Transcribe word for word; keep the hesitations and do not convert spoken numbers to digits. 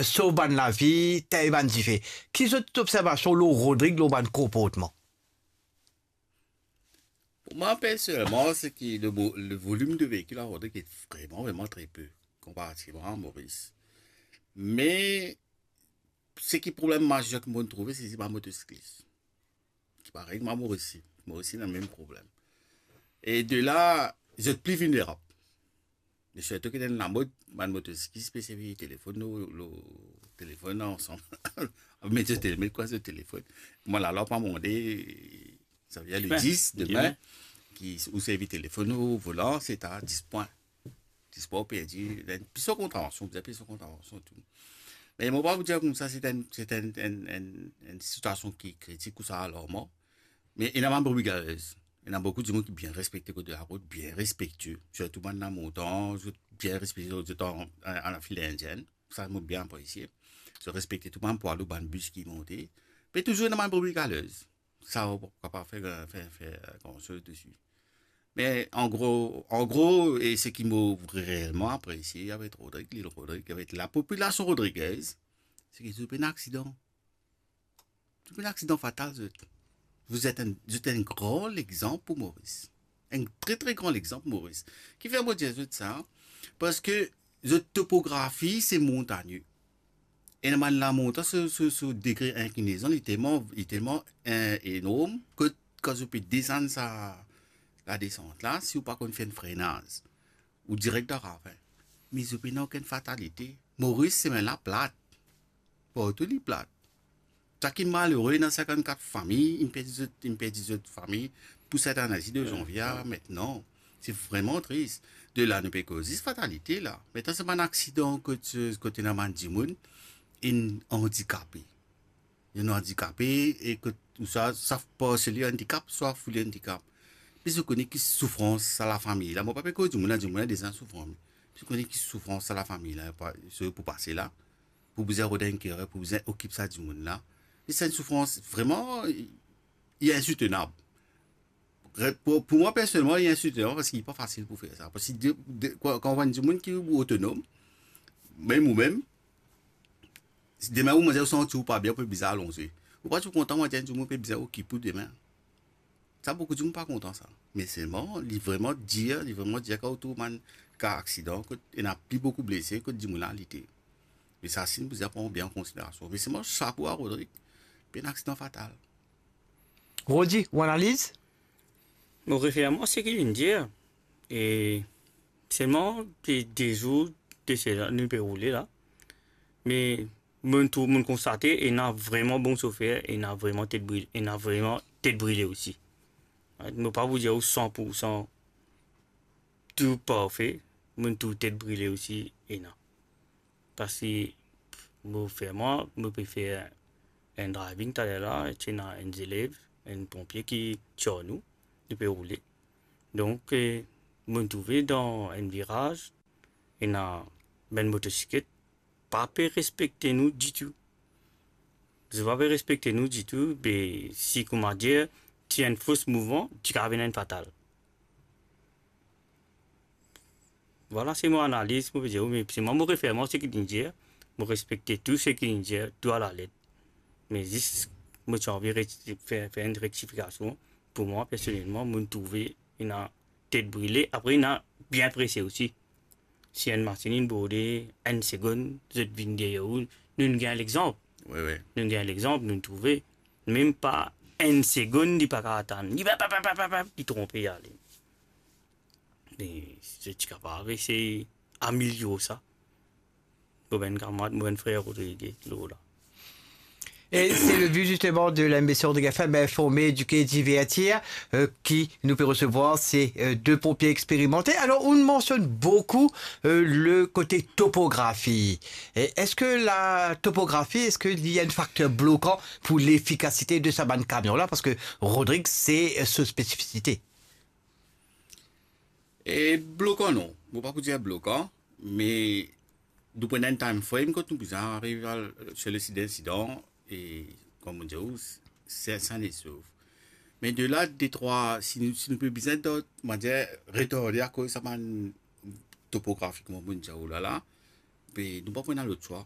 sov bann lavi, tegn bann dife. Ki zot observasion lor Rodrig, lor bann konportman? Pou mwa, personelman, se ki le mo-, le volim de veikil a Rodrig li vreman, vreman tre pe, konparativman a Moris. Me, seki problem mazer ki mo'nn trouve, se, se bann motosiklis. Ki parey, mwa, Moris, Moris ena mem problem. E de la, zot pli vilnerab. Me sirtou ki dan lamod, bann motosiklis pe servi telefonn, lor, lor telefonn ansam. Met zot tele-, met kwa, zot telefonn. Mwa, lalwa pa mande, savedir le Dimen, dis, dimen, dimen, ki ou servi telefonn lor volan, se ta dis pwin. Dis pwin ou perdi, pli so kontravansion, bizin pey so kontravansion tou. Me mo pa pou dir koumsa, se enn, se enn, enn, enn, enn sitiasion ki kritik ou sa alarman. Me ena bann brebis galez. Ena boukou dimoun ki bien respekte kot larot, bien respektie, sirtou bann lamontan, zot bien respekte zot, zot an, an, an fil indienn. Sa, mo bien apresie. Zot respekte tou bann pwa lou, bann bis ki monte. Me touzour ena bann brebis galez. Sa, ou pa kapav fer, fer, fer gran soz desi. Me an gro, an gro, e seki mo reelman apresie avek Rodrig, lil Rodrig, avek lapopilasion rodrigez, seki zot pena aksidan. Zot pena aksidan fatal, zot. Vous êtes un, zot enn gran lexanp pou Moris. Enn tre, tre gran lexanp pou Moris. Kifer mo dir zot sa? Parski zot topografi, se montagne. Ena bann lamontan so, so, so degre inklinezon, li telman, li telman, eh, enorm, kot kan zot pe desann sa ladesant la, si ou pa konn fer enn frenaz, ou direk dan ravin. Me zot pena okenn fatalite. Moris, semin la plat. Partou li plat. Sa ki malere, ena sinkant-kat fami, inn perdi zot, inn perdi zot fami pou set ane-la, de zanvie a mintnan. Se vreman tris. De la, nou pe koz zis fatalite la. Mintnan, se bann aksidan kot, kot ena bann dimoun inn andikape. Inn andikape, e kot ou sa, swa parseli andikap, swa fully andikap. Me zot kone ki soufrans sa lafami la. Mo pa pe koz dimoun la, dimoun la deza soufran. Me zot kone ki soufrans sa lafami la, pa, so pou pase la. Pou bizin rod enn kerer, pou bizin okip sa dimoun la. E se enn soufrans vreman, li insoutenab. Re-, pou, pou mwa, personelman, li insoutenab parski li pa fasil pou fer sa. Parski de, de, kan, kan ou enn dimoun ki otonom, mem ou mem, si demin ou manze, ou santi ou pa bien, ou pe bizin alonze. Ou pa ti kontan, manze enn dimoun pe bizin okip ou demin. Sa, boukou dimoun pa kontan sa. Me selman, li vreman dir, li vreman dir kan ou trouv bann ka aksidan, kot ena pli boukou blese, kot dimoun la lite. Me sa, si nou bizin pran bien an konsiderasion. Me selman, sapo a Rodrig, pena aksidan fatal. Rodi, ou analiz? Mo refer mwa seki linn dir, e selman, se de zour de sela, nou pe roule la. Me mo'nn trouv, mo'nn konstate, ena vreman bon sofer, ena vreman tet brile, ena vreman tet brile osi. Mo pa pou dir ou san pou san tou parfe, mo'nn trouv tet brile osi, ena. Parski mo fer mwa, mo pe fer enn driving taler la, ti ena enn zelev, enn ponpie ki ti ar nou, nou pe roule. Donk, eh, mo'nn trouve dan enn viraz, ena bann motosiklet pa pe respekte nou ditou. Zot pa pe respekte nou ditou, be si, koumadir, ti enn fos mouvman, ti kapav ena enn fatal. Vwala, se mo analiz, mo pe dir ou, me se mwa, mo refer mwa seki linn dir, mo respekte tou seki linn dir, tou alalet. Me zis, mo ti anvi re-, fer, fer enn rektifikasion. Pou mwa, personelman, mo'nn trouve ena tet brile, apre ena bien prese osi. Si enn masinn inn borde, enn segonn, zot vinn deryer ou, nou'nn gagn lexanp. Wi, wi. Nou'nn gagn lexanp, nou'nn trouve, mem pa enn segonn, li pa kapav atann. Li pa, pa, pa, li tronpe, li ale. Me zot ti kapav esey amelior sa. Mo bann kamarad, mo bann frer Rodrig, lor la. Et c'est le but justement de l'émission de F M, informer, éduquer, divertir, euh, qui nous peut recevoir ces, euh, deux pompiers expérimentés. Alors, on mentionne beaucoup, euh, le côté topographie. Et est-ce que la topographie, est-ce qu'il y a un facteur bloquant pour l'efficacité de sa bann camion-là? Parce que Rodrig, c'est, euh, sa spécificité. E blokan non, mo pa pou dir blokan, me nou pran enn time frame kot nou bizin ariv al, se le sit d'insidan, e kouma mo dir ou, se, se sanesov. Me de la, de trwa, si nou, si nou pe bizin dot, mo dir, retarde akoz sa bann topografi, kouma mo dir ou la la, be nou pa pou ena lot swa.